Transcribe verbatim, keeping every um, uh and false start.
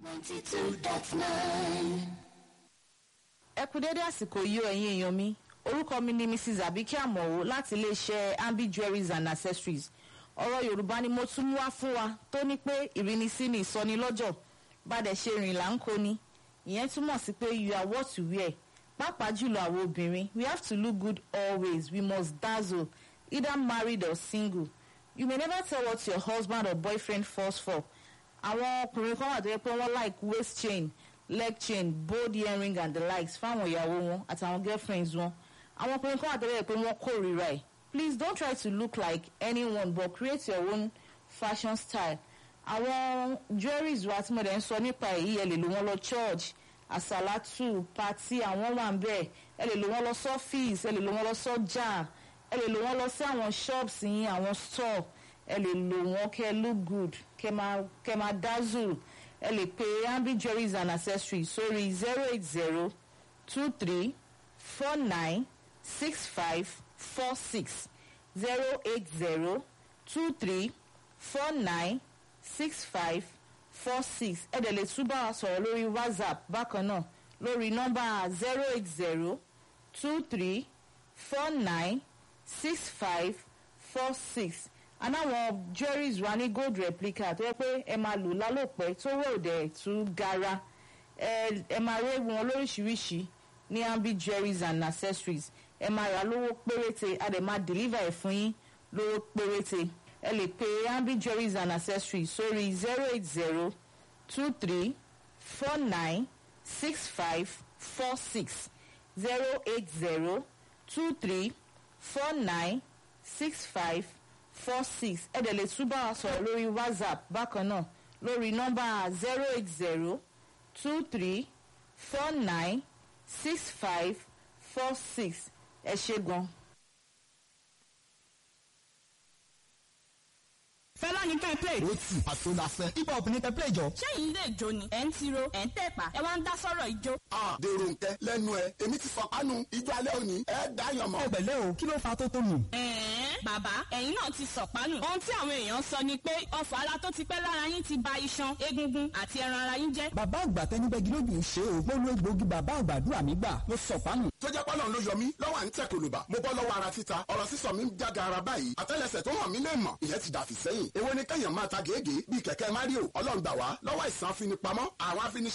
Ninety two dot nine. Ẹ kú dédé àsìkò yìí o, ẹ̀yin èèyàn mi. Orúkọ mi ni Missus Abike Amọ̀wò láti iléeṣẹ́ Ambi Jewelries and Accessories. Ọ̀rọ̀ Yorùbá ni mo tún mú wá fún wa tó ní pé ìrínisí ni ìsọnilọ́jọ̀, bàdẹ̀ ṣe rìn là ń kó ni. Ìyẹn túmọ̀ sí pé you are what you wear. Pàápàá jùlọ àwọn obìnrin, we have to look good always. We must dazzle, either married or single. You may never tell what your husband or boyfriend falls for. Àwọn ọkùnrin kan wà tó yẹ pé wọ́n like waist chain, leg chain, bold earring and the likes fáwọn ìyàwó wọn àtàwọn girlfriends wọn. Àwọn ọkùnrin kan wà tó yẹ pé wọ́n kórìíra ẹ̀. Please don't try to look like anyone, but create your own fashion style. Àwọn jewelries wa tí mo dẹ̀ ń sọ nípa èyí, ẹ lè lò wọ́n lọ church, àsàlátù, party, àwọn wà ń bẹ̀. Ẹ lè lò wọ́n lọ sọ́fíìsì, ẹ lè lò wọ́n lọ sọ́jà, ẹ lè lò wọ́n lọ sí àwọn shops yín, àwọn store. Ẹ lè lò wọ́n kẹ́ look good, kẹ́ máa kẹ́ máa dazzle. Ẹ lè pe Ambi Jewelries and Accessories sórí zero eight zero two three four nine six five four six, zero eight zero two three four nine six five four six. Ẹ dẹ̀ lè tún bá wa sọ̀rọ̀ lórí WhatsApp bákan náà lórí nọ́mbà zero eight zero two three four nine six five four six. Anáwọn jewelries wa ní gold replica tó yẹ pé ẹ máa lò lálòpẹ́ tó wọ̀ òdẹ̀ tún gara. Ẹ ẹ máa rí wọn lóríṣiríṣi ní Ambi Jewelries and Accessories. Ẹ máa rà lówó péréte, a dẹ̀ máa deliver ẹ̀ fún yín lówó péréte. Ẹ lè pe Ambi Jewelries and Accessories sórí zero eight zero two three four nine six five four six, zero eight zero two three four nine six five four six. Ẹ dẹ̀ lè tún bá wa sọ̀rọ̀ lórí WhatsApp bákan náà lórí nọ́mbà zero eight zero two three four nine six five four six. Ẹ ṣé gan. Fẹlá ní kẹ́ ẹ play. Ó tì àṣọ la fẹ́. Hip hop ní kẹ́ play jọ. Ṣẹ́yìn lè jó ni, ẹ̀ ń tiro, ẹ̀ ń tẹ̀pá, ẹ wá ń dá sọ̀rọ̀ ijó. A dèrò nkẹ lẹ́nu ẹ, èmi ti fọpánu ijó alẹ́ òní, ẹ dáyàn mọ́. Ẹ pẹ̀lẹ́ o, kí ló fa tó tó nù? Ẹ̀ẹ́n, bàbá, ẹ̀yin náà ti sọ̀pánù. Ohun tí àwọn èèyàn sọ ni pé ọfọ̀ ara tó ti pẹ́ lára yín ti ba iṣan, egungun àti ẹran ara yín jẹ́. Bàbá àgbà tẹnibẹ́gi lójú ń ṣe o. Mo lo egbòogi bàbá àgbàdúrà mi gbà. Mo sọ̀pánù. Tó jẹ́ pọ́lọ́n ló yọ mí lọ́wọ́ à ń tẹ̀ kòlòbà. Mo bọ́ lọ́wọ́ ara títa, ọ̀rọ̀ sísọ mi ń jága ara báyìí. Àtẹ́lẹsẹ̀ tó hàn mí lè mọ̀, ìyẹn ti dàfí sẹ́yìn. Èwo ni kẹ́yàn máa ta gègé bíi kẹ̀kẹ́ Mario? Ọlọ́run gbà wá lọ́wọ́ ìsàn afinipamọ́, àwọn afini